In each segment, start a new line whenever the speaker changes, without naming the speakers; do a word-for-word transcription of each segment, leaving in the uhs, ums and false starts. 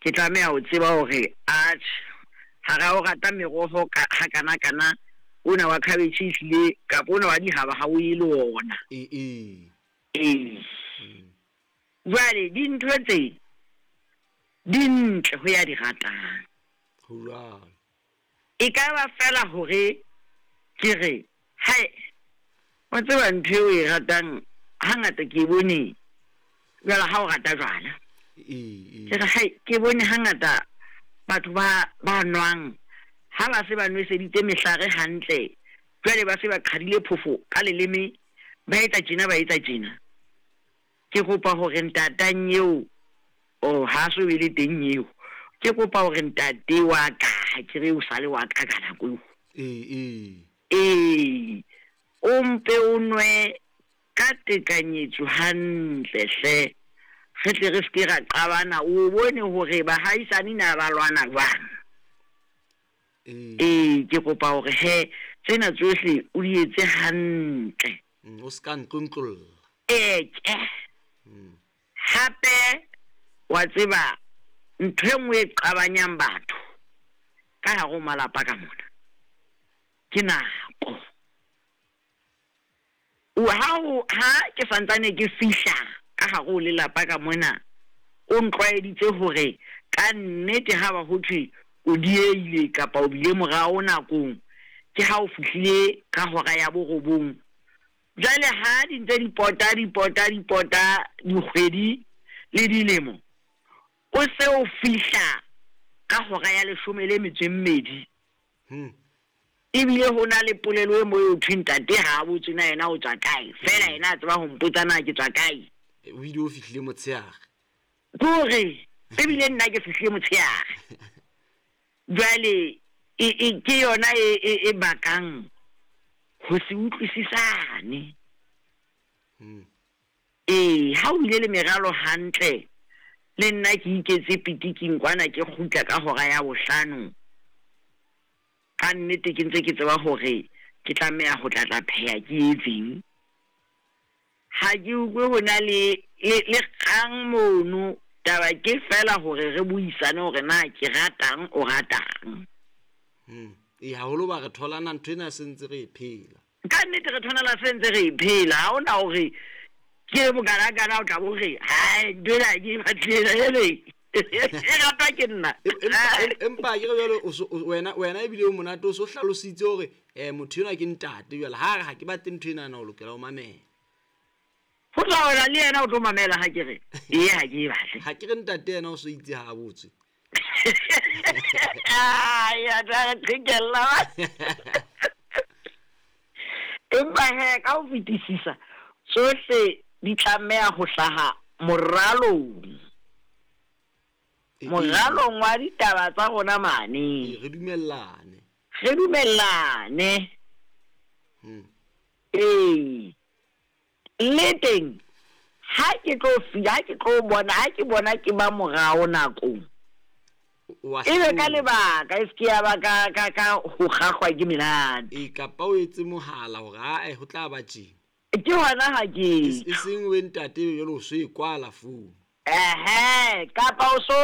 Ke tlameha ho tseba hore atjhe, hara o rata meroho ka ha kana kana ona wa cabbage ehlile kapa ona wa dihaba ha o ye le ona.
Ee ee.
Ee. Jwale dintho tse di ntle ho ya di ratang.
Ho jwalo.
E ka ba fela hore ke re hai, wa tseba ntho eo e ratang hangata ke e bone jwale ha o rata jwala.
Ee ee.
Ke re hai, ke bone hangata batho ba ba nwang ha ba se ba nweseditse mehlare hantle, jwale ba se ba qhadile phofo ka leleme, ba etsa tjena ba etsa tjena. Ke kopa hore ntatang eo, oh ha so be le teng eo. Ke kopa hore ntate wa ka, ha ke re o sale wa ka ka nako eo.
Ee ee.
Ee, o mpe o nwe ka tekanyetso hantle hle. Re tle re ske ra qabana, o bone hore bahaisane na ba lwana jwang.
Ee.
Ee, ke kopa hore he tsena tsohle o di etse hantle.
Mm, o ska ntlontlolla.
Ee, tjhe.
Mm.
Hape wa tseba ntho e nngwe e qabanyang batho ka hare ho malapa ka mona ke nako. O ha o ha ke santsane ke fihla ka hare ho lelapa ka mona, o ntlwaeditse hore ka nnete ha ba ho thwe o diehile kapa o bile morao nakong, ke ha o fihlile ka hora ya borobong. Jwale ha di ntse di pota di pota di pota dikgwedi le dilemo, o se o fihla ka hora ya leshome le metso e mmedi.
Hmm.
Ebile ho na le polelo e mo eo thweng ntate ha a botse na yena o tswa kae, fela yena a tseba ho mpotsa na ke tswa kae.
O ile o fihlile motshehare.
Ke hore ebile nna ke fihlile motshehare. Jwale e, e ke yona e, e, e bakang ho se utlwisisane.
Hmm.
Ee, ha o bile le meralo hantle, le nna ke iketse pitiking kwana ke kgutla ka hora ya bohlano. Ka nnete ke ntse ke tseba hore ke tlameha ho tla tla pheha ke etseng. Ha ke utlwe ho na le, le, le kgang mono, taba ke fela hore re buisane hore na ke ratang o ratang.
Hmm. Ee, haholo ba re tholana ntho ena se ntse re e phela.
Ka nnete re tholana se ntse re e phela, ha hona hore ke bokalakala o tla bo re, hai, ntho ena ke e batlile, hele. E ratwa ke nna.
Empa, empa ke re jwale o so, o, wena, wena ebile o monate o so hlalositse hore, eh, motho enwa ke ntate jwale, ha re ha ke batle ntho ena, o lokela ho mamela.
Ho tla wena le yena o tlo mamela ha ke re, ee, ha ke e batle.
Ha ke re ntate yena o so itse ha a botswe.
Ai, a tla re qhekella. Empa he, ka ho fetisisa, tsohle di tlameha ho hlaha moralong.
E, e.
Moralong wa ditaba tsa rona mane.
E, re dumellane.
Re dumellane.
Hmm.
Ee. Le teng, ha ke tlo fi-, ha ke tlo bona, ha ke bona ke ba morao nakong.
O a
E be ka
hlola.
lebaka, e se ke ya ba ka, ka, ka ho kgahlwa ke menate.
E, kapa o etse mohala hore, ae, ho tla ba tjena.
Ke hona ha ke
E s-, e seng we ntate jwale o so e kwala founu.
Ehe, kapa o so,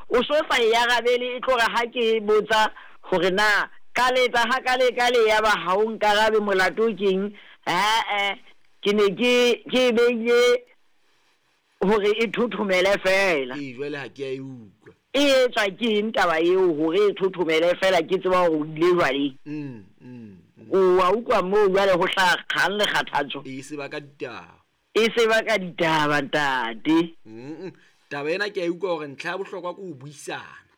o so sa e arabele, e tlo re ha ke botsa hore na ka letsa ha ka le ka le ya ba ha o nkarabe molato keng? Eh, eh, ke ne ke, ke e beile hore e thothomele fela.
Ee, jwale ha ke a e utlwa.
E etswa ke eng taba eo hore e thothomele fela, ke tseba hore o ile jwale?
Mm, mm, mm.
O wa utlwa moo jwale ho hlaha kgang le kgathatso.
E se baka ditaba.
E se baka ditaba, ntate.
Mm, mm. Taba ena ke a utlwa hore ntlha ya bohlokwa ke ho buisana.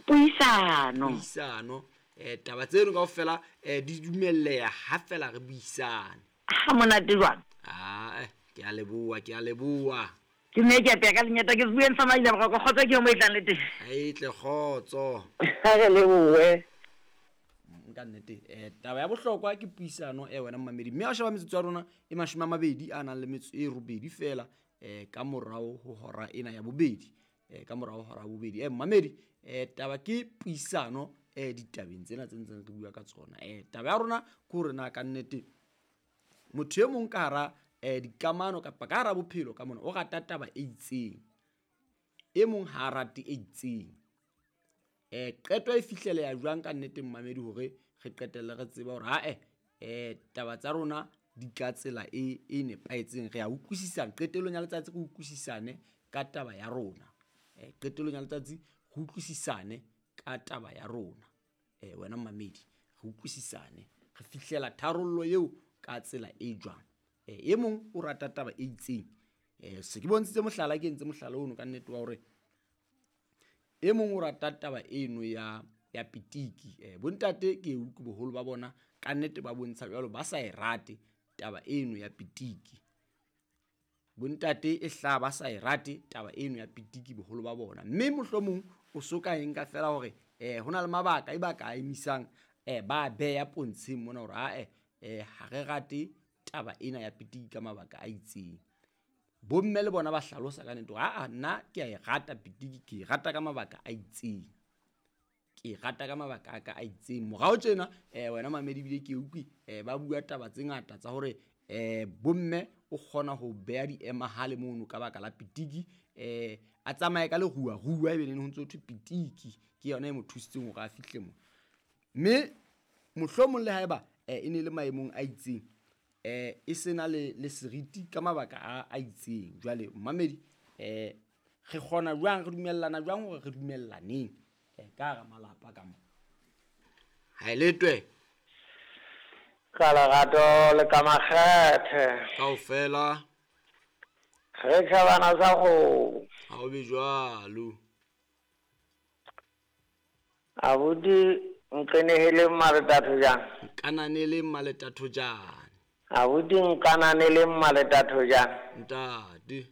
Puisano.
Puisano. Eh, taba tseno kaofela, eh, di dumelleha ha fela re buisane.
Ha monate jwang?
Ah, eh, ke a leboha, ke a leboha.
Ke ne ke apeya ka lenyata, ke se bueng sa maila boroko, kgotso ke yo mo e tlang le teng.
Ha e tle kgotso.
Ha re lebohe.
Nka nnete, eh, taba ya bohlokwa ke puisano, eh, wena mmamedi. Mme ha o sheba metsotso ya rona e mashome a mabedi a nang le metso e robedi fela, eh, ka morao ho hora ena ya bobedi. Eh, ka morao ho hora ya bobedi. Eh, mmamedi, eh, taba ke puisano, eh, ditabeng tsena tse ntseng re bua ka tsona. Eh, taba ya rona ke hore na ka nnete motho e mong ka hara, eh, dikamano kapa ka hara bophelo ka mona o rata taba e itseng. E mong ha a rate e itseng. Eh qeto e fihleleha jwang ka nnete mmamedi hore re qetelle re tseba hore ha-eh eh taba tsa rona di ka tsela e e nepahetseng, re a utlwisisana. Qetellong ya letsatsi re utlwisisane ka taba ya rona. Eh qetellong ya letsatsi re utlwisisane ka taba ya rona. Eh wena mmamedi, re utlwisisane, re fihlela tharollo eo ka tsela e jwang. Eh e mong o rata taba e itseng. Eh se ke bontshitse mohlala, ke entse mohlala ono ka nnete wa hore e mong o rata taba eno ya ya pitiki. Eh bontate ke utlwe boholo ba bona ka nnete ba bontsha jwalo ba sa e rate taba eno ya pitiki. Bontate e hla ba sa e rate taba eno ya pitiki boholo ba bona. Mme mohlomong o so ka e nka fela hore eh hona le mabaka e ba ka emisang eh ba beya pontsheng mona hore ha-eh eh ha re rate taba ena ya pitiki ka mabaka a itseng. Bomme le bona ba hlalosa ka nnete hore ha-a nna ke a e rata pitiki, ke e rata ka mabaka a itseng. Ke e rata ka mabaka a ka a itseng. Morao tjena eh wena mamedi ebile ke utlwe eh ba bua taba tse ngata tsa hore eh bomme o kgona ho beha diemahale mono ka baka la pitiki, eh a tsamaye ka leruarua ebe neng ho ntso thwe pitiki ke yona e mo thusitseng hore a fihle mo. Mme mohlomong le haeba eh e ne le maemong a itseng eh e sena le le seriti ka mabaka a a itseng. Jwale mmamedi eh re kgona jwang, re dumellana jwang hore re dumellaneng eh ka hara malapa ka mo. Ha e letwe
ka lerato le ka makgethe
kaofela
re tjhabana sa kgomo.
Ha o be jwalo.
Abuti nqenehele mmaletatho jang?
Nkananele mmaletatho jang?
Abuti nkananele mmaletatho jang?
Ntate.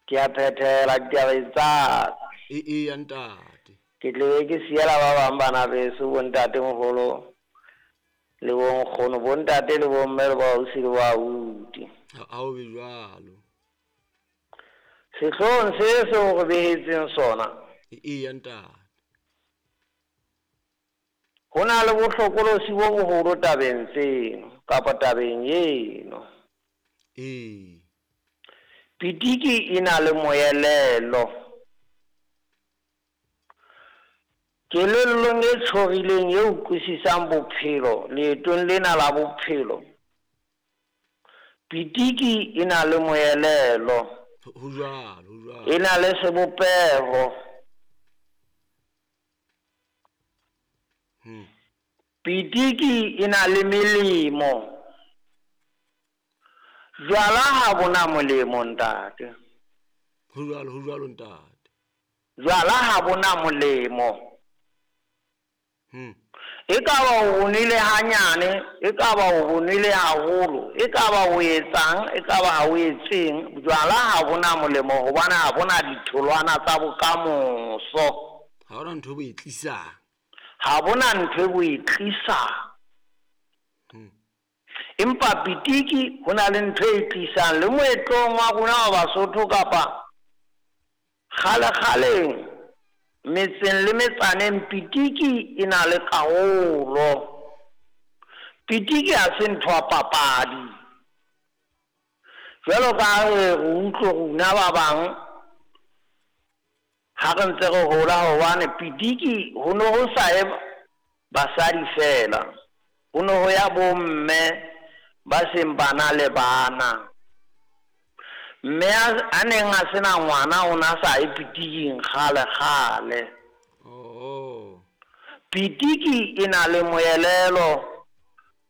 Ke a phethela ditaba tsa ka.
E e ya ntate.
Ke tle ke siela ba bang bana beso bontate moholo le bonkgono, bontate le bomme le boausi le boabuti.
Ha o be jwalo.
Sehloohong se seo re behetseng sona.
E e ya ntate.
Ho na le bohlokolosi bo boholo tabeng tseno kapa tabeng eno.
Ee.
Pitiki e na le moelelo. Kelellong e tshorileng e utlwisisang bophelo leetong lena la bophelo. Pitiki e na le moelelo.
Ho jwalo, ho jwalo.
E na le sebopeho.
Hmm.
Pitiki e na le melemo. Jwala ha bona molemo ntate.
Ho jwalo, ho jwalo ntate.
Jwala ha bona molemo.
Hmm.
E ka ba o bonile hanyane, e ka ba o bonile haholo, e ka ba o etsang, e ka ba ha o etseng, jwala ha bona molemo hobane ha bona ditholwana tsa bokamoso.
Ha hona ntho e bo e tlisang.
Ha bona ntho e bo e tlisang.
Hmm.
Empa pitiki ho na le ntho e tlisang le moetlong wa rona wa Basotho kapa kgale-kgaleng metseng le metsaneng pitiki e na le karolo. Pitiki ha se ntho ya papadi. Jwalo ka ha re utlwe rona ba bang ha re ntse re hola, hobane pitiki ho ne ho sa ye basadi fela, ho ne ho ya bomme ba seng ba na le bana. Mme a neng a sena ngwana o na sa ye pitiking kgale kgale.
Oh.
Pitiki e na le moelelo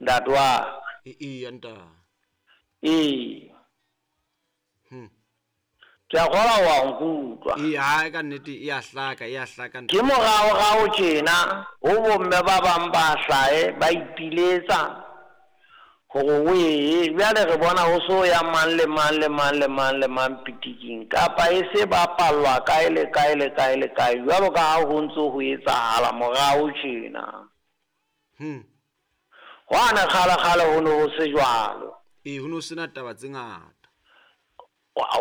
ntate wa ka.
E e ya ntate.
Ee.
Hmm.
Ke a kgolwa wa nkutlwa.
Ee, ha ka nnete e a hlaka, e a hlaka ntate.
Ke moraorao tjena ho bomme ba bang ba hlahe ba ipiletsa hore o ye, bjale re bona ho so ya mang le mang le mang le mang le mang pitiking, kapa e se bapallwa kae le kae le kae le kae, jwalo ka ha ho ntso ho etsahala morao tjena.
Hmm.
Hwane kgale-kgale ho ne ho se jwalo.
Ee, ho ne ho sena taba tse ngata.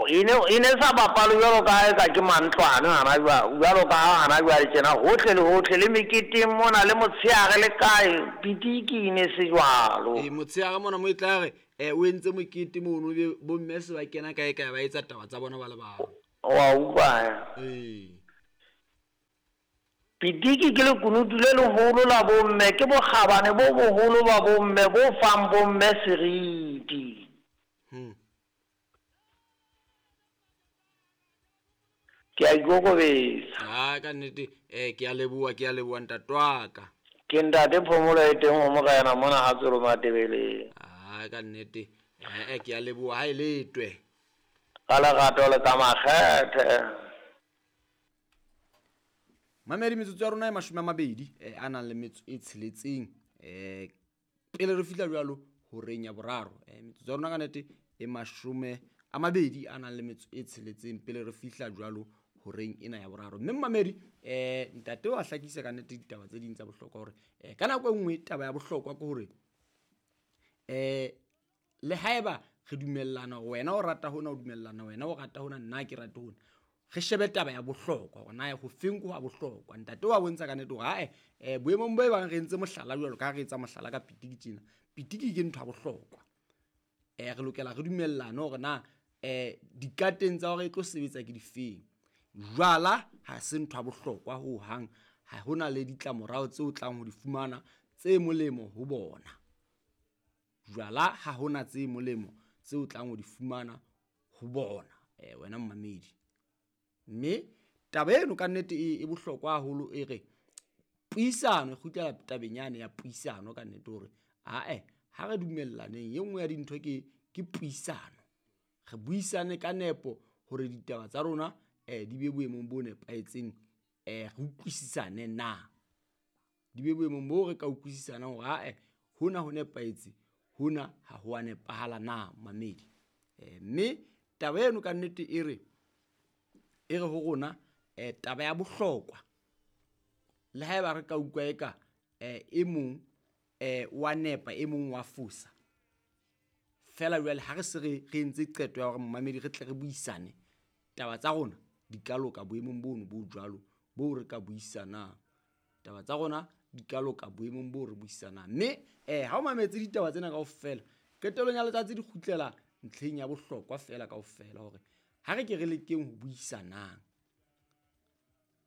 E ne e ne sa bapalwe jwalo ka ha eka ke mantlwane hana jwale, jwalo ka ha hana jwale tjena hohle le hohle le meketeng mona le motshehare le kae, pitiki e ne se jwalo.
Ee, motshehare mona mo e tla re eh o entse mokete mono be bomme se ba kena kae kae ba etsa taba tsa bona ba le bang.
Wa utlwa?
Ee.
Pitiki ke lekunutu le leholo la bomme, ke bokgabane bo boholo ba bomme bo fang bomme seriti.
Hmm.
Ke a ikokobetsa.
Ha ka nnete, eh ke a leboha, ke a leboha ntate wa ka.
Ke ntate Phomolo e teng ho morena mona ha Tsolo Matebeleng.
Ha ka nnete, eh ke a leboha ha e letwe.
Ka lerato le ka makgethe.
Mamedi, metsotso ya rona e mashome a mabedi eh, a nang le metso e tsheletseng eh pele re fihla jwalo horeng ya boraro. Eh metsotso ya rona ka nnete e mashome a mabedi a nang le metso e tsheletseng pele re fihla jwalo horeng ena ya boraro. Mme mamedi, eh ntate wa hlakisa ka nnete ditaba tse ding tsa bohlokwa hore eh ka nako e nngwe taba ya bohlokwa ke hore eh le haeba re dumellana hore wena o rata hona, o dumellana wena o rata hona, nna ke rate hona, re shebe taba ya bohlokwa hore na ho feng ke wa bohlokwa. Ntate wa bontsha ka nnete hore ae eh boemong bo e bang re entse mohlala jwalo ka ha re etsa mohlala ka pitiki tjena, pitiki ke ntho ya bohlokwa. Eh re lokela re dumellane hore na eh dikateng tsa hore e tlo sebetsa ke difeng. Jwala ha se ntho ya bohlokwa ho hang, ha hona le ditlamorao tseo tlang ho di fumana tse molemo ho bona. Jwala ha hona tse molemo tseo tlang ho di fumana ho bona, eh wena mmamedi. Mme taba eno ka nnete e, e bohlokwa haholo, e re puisano, e kgutlela tabeng yane ya puisano ka nnete hore ae ha re dumellaneng, e nngwe ya dintho ke, ke puisano. Re buisane ka nepo hore ditaba tsa rona eh di be boemong bo nepahetseng, eh re utlwisisane na, di be boemong bo re ka utlwisisanang hore ae hona ho nepahetse, hona ha ho a nepahala na mamedi. Eh mme taba eno ka nnete e re, e re ho rona eh taba ya bohlokwa, le haeba re ka utlwa eka eh e mong eh wa nepa, e mong wa fosa, fela jwale ha re se re, re entse qeto ya hore mmamedi re tle re buisane, taba tsa rona di ka loka boemong bono bo jwalo bo re ka buisanang. Taba tsa rona di ka loka boemong bo re buisanang. Mme eh ha o mametse ditaba tsena kaofela, qetellong ya letsatsi di kgutlela ntlheng ya bohlokwa fela kaofela hore ha re ke re lekeng ho buisanang.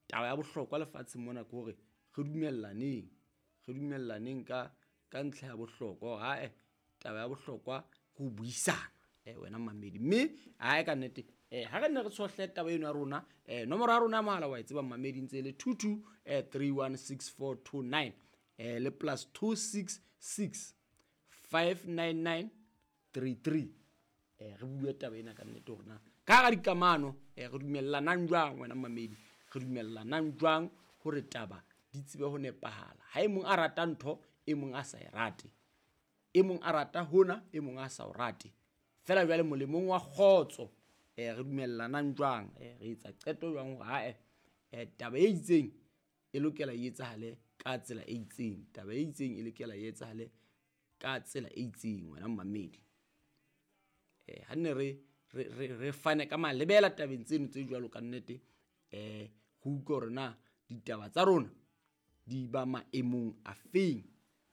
Taba ya bohlokwa lefatsheng mona ke hore re dumellaneng, re dumellaneng ka, ka ntlha ya bohlokwa hore ae taba ya bohlokwa ke ho buisana, eh wena mamedi. Mme ae ka nnete eh ha re nne re tshohle taba eno ya rona, eh nomoro ya rona ya mohala wa e tseba mamedi ntse e le two two, eh, three one six four two nine, eh le plus two six six five nine nine three three. Eh re bue taba ena ka nnete hore na ka hara dikamano, eh re dumellanang jwang wena mamedi, re dumellanang jwang hore taba di tsebe ho nepahala. Ha e mong a rata ntho, e mong a sa e rate, e mong a rata hona, e mong a sa o rate, fela jwale molemong wa kgotso eh re dumellanang jwang, eh re etsa qeto jwang hore ae eh taba e itseng e lokela e etsahale ka tsela e itseng, taba e itseng e lokela e etsahale ka tsela e itseng wena mmamedi. Eh ha nne re, re, re, re fane ka malebela tabeng tseno tse jwalo ka nnete, eh ho utlwa hore na ditaba tsa rona di ba maemong a feng.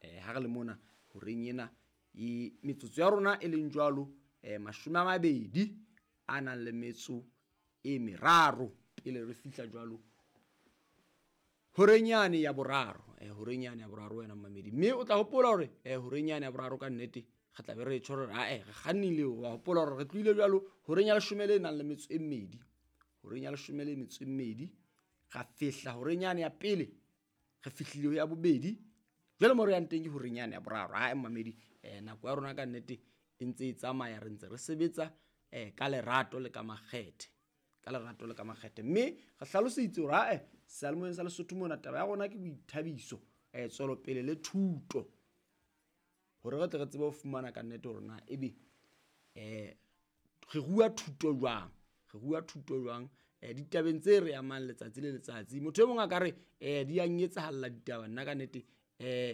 Eh ha re le mona horeng ena e metsotso ya rona e leng jwalo, eh mashome a mabedi a nang le metso e meraro pele re fihla jwalo horeng yane ya boraro, eh horeng yane ya boraro wena mmamedi. Mme o tla hopola hore, eh horeng yane ya boraro ka nnete re tla be re tjho hore ae re kgannile, wa hopola hore re tlohile jwalo horeng ya leshome le nang le metso e mmedi, horeng ya leshome le metso e mmedi ra fihla horeng yane ya pele, re fihlile ho ya bobedi, jwale mo re yang teng ke horeng yane ya boraro. Ae mmamedi, eh nako ya rona ka nnete e ntse e tsamaya, re ntse re sebetsa eh ka lerato le ka makgethe, ka lerato le ka makgethe. Mme re hlaloseditse hore ae seyalemoyeng sa Lesotho mona taba ya rona ke boithabiso, eh tswelopele le thuto, hore re tle re tsebe ho fumana ka nnete hore na ebe eh re rua thuto jwang, re rua thuto jwang eh ditabeng tse re amang letsatsi le letsatsi. Motho e mong a ka re eh di a nketsahalla ditaba, nna ka nnete eh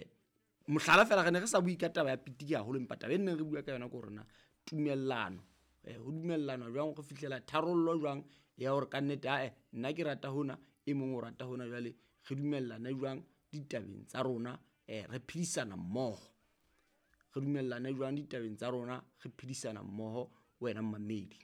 mohlala fela re ne re sa bue ka taba ya pitiki haholo, empa taba e neng re bua ka yona ke hore na tumellano, eh ho dumellana jwang, re fihlela tharollo jwang ya hore ka nnete ae nna ke rata hona, e mong o rata hona, jwale re dumellane jwang ditabeng tsa rona, eh re phedisana mmoho, re dumellane jwang ditabeng tsa rona, re phedisana mmoho wena mmamedi.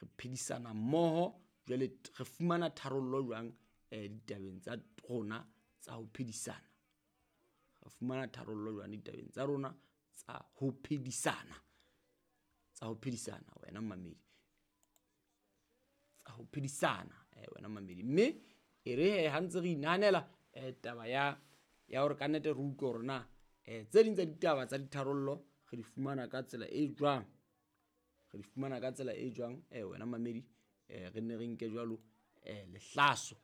Re phedisana mmoho, jwale re fumana tharollo jwang eh ditabeng tsa rona tsa ho phedisana. Re fumana tharollo jwang ditabeng tsa rona tsa ho phedisana. Tsa ho phedisana wena mmamedi. Tsa ho phedisana eh wena mmamedi. Mme e re he ha ntse re inahanela eh taba ya ya hore ka nnete re utlwe hore na eh tse ding tsa ditaba tsa ditharollo re di fumana ka tsela e jwang. Re di fumana ka tsela e jwang eh wena mmamedi, eh re nne re nke jwalo eh lehlaso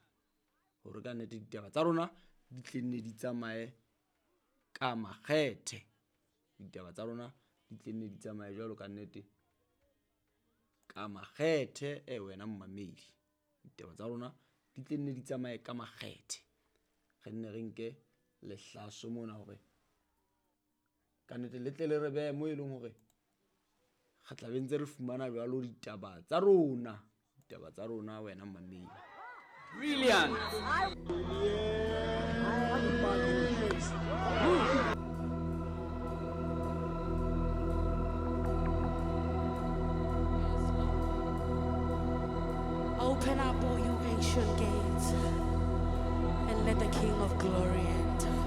hore ka nnete ditaba tsa rona di tle nne di tsamaye ka makgethe. Ditaba tsa rona di tle nne di tsamaye jwalo ka nnete ka makgethe eh wena mmamedi. Ditaba tsa rona di tle nne di tsamaye ka makgethe. Re nne re nke lehlaso mona hore ka nnete le tle le re behe mo e leng hore re tla be ntse re fumana jwalo ditaba tsa rona. Ditaba tsa rona wena mmamedi.
Brilliant.
Open up, all you ancient gates, and let the King of Glory enter.